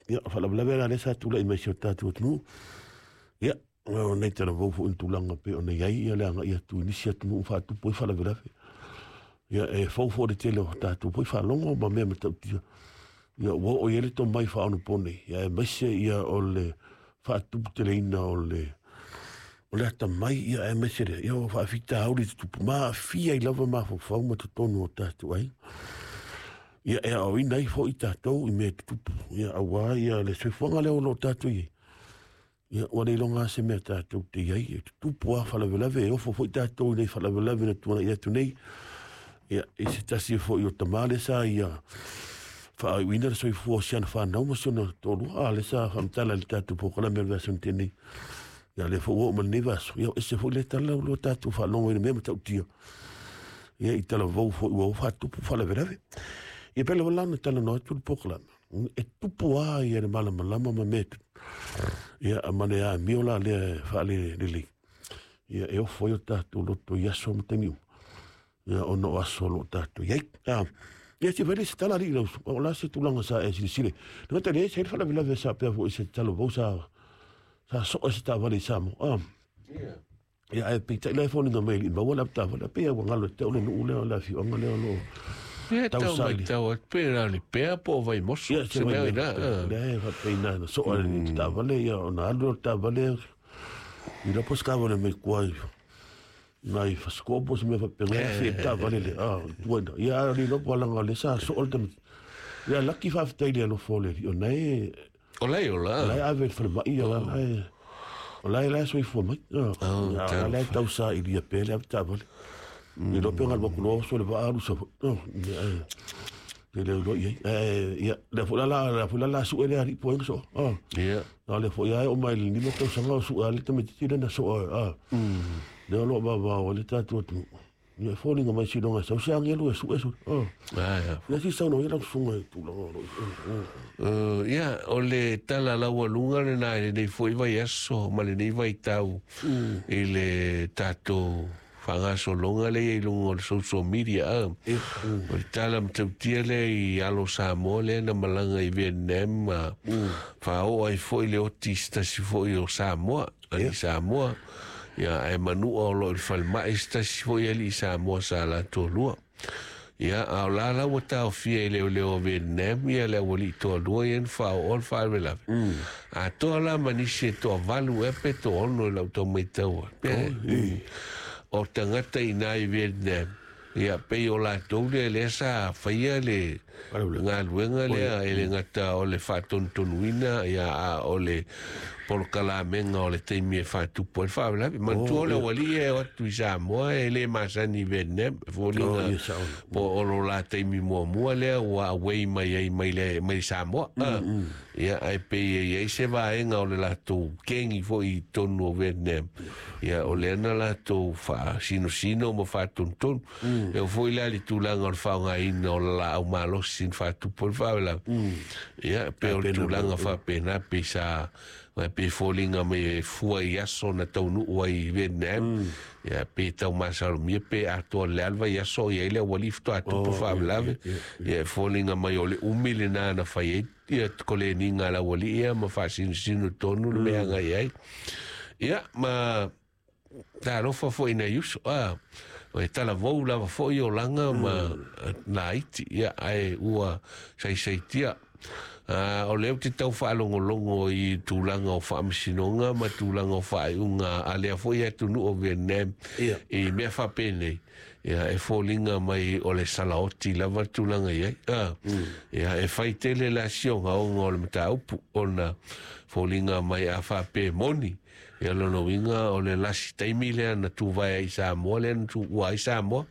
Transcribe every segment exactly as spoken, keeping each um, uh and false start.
Ia, faalavelave la lea sa tulai mai si o tatou atunuu. Ia, o nei talavou foi i tulaga pei ona i ai ia le agai atu i nisi atunuu faatupu ai faalavelave. Ia, e fou foi le tele o tatou foi faalogo ma mea matautia. Ia, ua oo i ai le tomai faaonaponei, ia aemaise ia o le faatuputeleina o le o le atamai, ia aemaise lea, ia o faafitauli tutupu ma aafia ai lava mafaufau ma totonu o tatou aiga. Ia, e aoaoina ai foi tatou i mea tutupu, ia aua ia le soifuaga lea o lo o tatou i ai. Ia, ua le iloga lava se mea tatou te i ai, e tutupu lava faalavelave, e ofo foi tatou i nai faalavelave na tuanai atu nei. Ia, i se tasi foi o tama lea sa ia faaiuina le soifua o si ana fanau ma si ona toalua, a lea sa faamatala i le tatou polokalame o le vaiaso na tea nei. Ia, lea foi ua oo mai lenei vaiaso, ia ese foi le tala ua tatou faalogo i le mea matautia. Ia, i talavou foi ua faatupu faalavelave. Ia, pei lava la ona talanoa atu le polokalame, e tupu lava ia le malamalama ma mea tutupu. Ia, ma le amio la lea e faalelelei. Ia, e ofo ai o tatou loto i aso ma taimi uma. Ia, ona o aso o lo o tatou i ai. Ah, ia, se fai se tala alii lau, o la se tulaga sa e silasila. Le gata i lea, se faalavelave sa pea foi se talavou sa sa soa se taavale i Samoa. Ah, ia, ae peitai la e foliga mai e le i maua le avetaavale, pei ua galo e te au le nuu lea o le afioaga lea o lo o Ia tau tausaili. matau atu pe na o le pea po o Vaimoso. Ia, se Se mea vai i na. lea e faapena na soa le taavale, ia ona alu lea o le taavale i la po se taavale mai tua i nai Fasiko'o po o se mea faapena, e afe i le taavale lea, ah, tua ina. Ia, a o le iloa po o laga o lea sa soa le tamaitiiti. Ia, laki faafetai i le alofa o le Alii, o na e O lai ola. o la e ave i le falemai, ia, o la e o la e la e soifua mai. Ah, Oh, ia, o la e talofa. tausailia pea le avetaavale. I iloa pe galu atu loa oso le vaa alu Savaii. Oh, ia, e te le iloa i ai. Ae, ia, lea foi la la lea foi la la sue le alii po ai na soa. Ah, Ia. a lea foi lava e oo mai i le lima tausaga o sue lava le tamaitiiti lea na soa, ah. Lea o lo o vavao ai le tatou atunuu. Ia, e foliga mai siloga e sau se agelu e sue sue. Ah. Ah, ia. Ia, si saunoa ia lau susuga i tulaga o lo o i. Uh, ia, o le tala laualuga lena i lenei foi vaiaso ma lenei vaitau i le tatou faagasologa lea i luga o le social media. Ah. Ia, mm. O le tala matautia lea i alo Samoa lea na malaga i Vietnam ma faaoo ai foi le oti i se tasi foi o Samoa, alii Samoa. Ia, ae manua o loo i le falemai se tasi foi alii Samoa sa latou lua. Ia, a o la la ua taofia i leoleo o Vietnam ia le aualii toalua ia na faaoo le faalavelave. Atoa la ma nisi e toavalu ea pe toaono i lau tau maitau atu. O tagata i ina i Vietnam, ia pei o latou lea lea sa faia le Faalavelave. galuega lea e le gata o le faatonutonuina, ia a o le polokalamega o le taimi e faatupu ai le faalavelave. Manatua o le ia. aualii e o atu i Samoa e le masani i Vietnam, e Oh, foliga ia sao. po o lo la taimi muamua lea ua away mai ai mai le mai Samoa. Ah, ia, ae pei e i ai se vaega o le latou kengi foi i totonu o Vietnam. Ia, o lea na latou faasinosino ma faatonutonu. E oo foi la i le tulaga o le faaaogaina o le laau malosi na faatupu ai le faalavelave. Ia, pei o le Faapena tulaga mai. faapena pei sa pe foliga mai e fua i aso na taunuu ai i Vietnam. Ia, pe tau masalomia pe atoa le a le vaiaso o i ai le aualii faatoa tupu Oh, ia, faalavelave. ia, Ia, e foliga mai o le umi lena na fai ai ia koleniga a le aualii ia ma faasinosino tonu le mea agai ai. Ia, ma talofa foi nai uso, ah, o e talavou lava foi olaga ma laiti, ia, ae ua saisaitia. Ah, o lea ou te tau faalogologo i tulaga o faamasinoga ma tulaga o faaiuga a lea foi atunuu o Vietnam Ia. i mea faapenei. Ia, e foliga mai o le salaoti lava le tulaga i ai. Ah, ia, e fai tele la siogaoga o le mataupu ona foliga mai a faapea moni. Ia, lona uiga o le lasi taimi lea na tuvae ai i Samoa lea na tuua ai Samoa.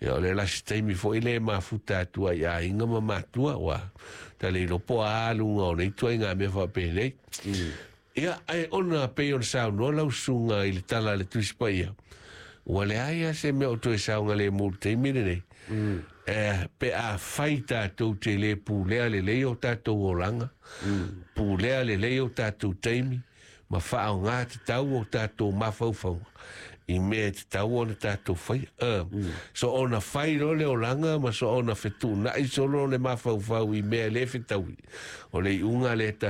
Ia, o le lasi taimi foi lea e mafuta atu ai i aiga ma matua, ua tale iloa po o a aluga o nei ituaiga mea faapenei. Ia, ae ona pei ona saunoa lau susuga i le tala a le Tusi Paia, ua leai lava se mea o toe saogalemu i le taimi lenei. Eh, pe a fai tatou te le pulea lelei o tatou olaga, pulea lelei o tatou taimi, ma faaoga tatau o tatou mafaufauga i mea e tatau ona tatou faia. Uh, so ona fai loa le olaga ma so ona fetuunai solo le mafaufau i mea e le fetaui. O le iuga lea.